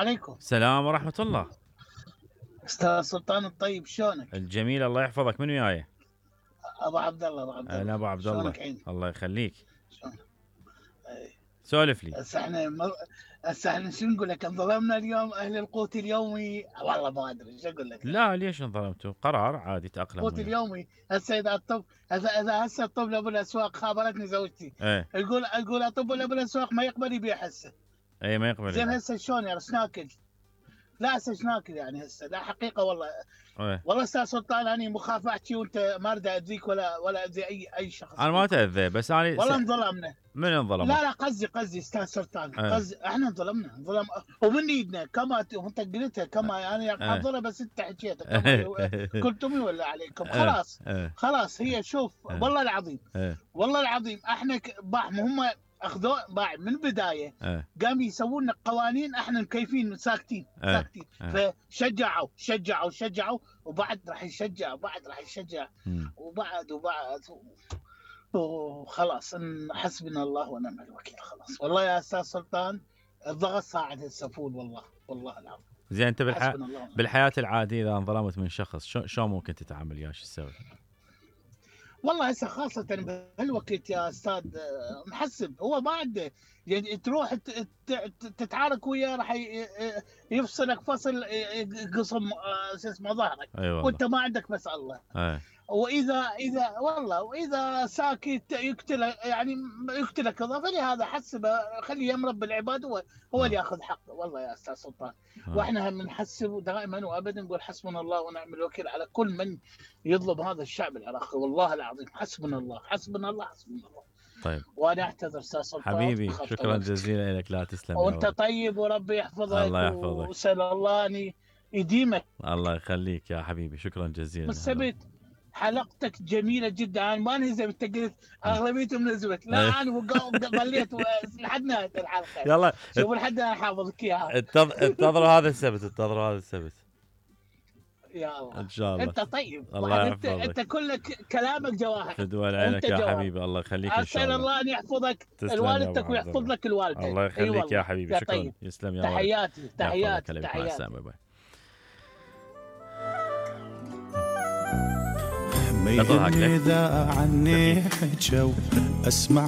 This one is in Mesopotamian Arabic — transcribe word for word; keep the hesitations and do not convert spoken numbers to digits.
عليكم. السلام ورحمة الله. استاذ سلطان الطيب، شلونك؟ الجميل الله يحفظك. من وياي؟ ابو عبد الله. ابو عبد الله. انا ابو عبد الله. شلونك عيني؟ الله يخليك. شلونك؟ سولف لي. هسه احنا مر... هسه احنا شو نقول لك؟ انظلمنا اليوم اهل القوت اليومي، والله ما ادري شو اقول لك. لا ليش انظلمتوا؟ قرار عادي تاقلم. القوت اليومي هسه اذا الطب اذا اذا هسه الطب ابو الاسواق، خابرتني زوجتي ايه يقول يقول اطب ابو الاسواق ما يقبل يبيع هسه. ايه ما يقبل. زين هسه شلون يعني ايش ناكل؟ لا هسه ايش ناكل يعني هسه؟ لا حقيقه والله. ايه والله استاذ سلطان انا مو خاف احكي وانت ما اريد اذيك ولا ولا اذي اي اي شخص. انا ما تاذى بس انا والله انظلمنا. من انظلم؟ لا لا قصدي قصدي استاذ سلطان، اه. قصدي احنا انظلمنا انظلم ومن ايدنا كما انت قلتها كما يعني محضره بس انت حكيتها كما قلتم ولا عليكم. خلاص اه. خلاص هي شوف اه. والله العظيم اه. والله العظيم احنا باع هم اخذوا باع من البدايه اه. قام يسوون لنا قوانين احنا مكيفين ساكتين اه. ساكتين اه. فشجعوا شجعوا شجعوا وبعد راح يشجع وبعد راح يشجع مم. وبعد وبعد وخلاص ان حسبنا الله ونعم الوكيل. خلاص والله يا استاذ سلطان الضغط صاعد السفول والله والله العظيم. زين انت بالح... بالحياه العاديه اذا انظلمت من شخص شو شو ممكن تتعامل وياه؟ شو تسوي؟ والله هسه خاصة بهالوقت يا استاذ محسب هو ما عنده يعني تروح تتعارك وياه راح يفصلك فصل قسم شو اسمه ظهرك. أيوة وانت ما عندك بس الله. أي. واذا اذا والله واذا ساكت يقتلك يعني يقتلك الله. فلهذا حسبه خليه يمرب بالعباد هو هو اللي ياخذ حقه. والله يا استاذ سلطان آه. واحنا هم نحسب دائما وابدا نقول حسبنا الله ونعم الوكيل على كل من يظلم هذا الشعب العراقي. والله العظيم حسبنا الله حسبنا الله حسبنا الله. طيب وانا اعتذر استاذ سلطان حبيبي شكرا جزيلا لك. لا تسلم وانت طيب وربي يحفظك. الله يحفظك وسال الله ان يديمك. الله يخليك يا حبيبي شكرا جزيلا. بالسبت حلقتك جميله جدا. انا ما نهزم انت قلت اغلبيتهم نزلت. لا انا ظليت لحد نهايه الحلقه. يلا شوف لحد انا حافظك اياها. انتظروا هذا السبت انتظروا هذا السبت يا الله ان شاء الله. انت طيب. الله انت انت كلك كلامك جواهر. تدول عينك يا جواهر. حبيبي الله يخليك ان شاء الله. اسال الله ان يحفظك الوالدتك ويحفظ لك الوالده. الله يخليك يا حبيبي يا شكرا. طيب. يسلم يا تحياتي تحياتي تحياتي. إذا عني حجوا أسمع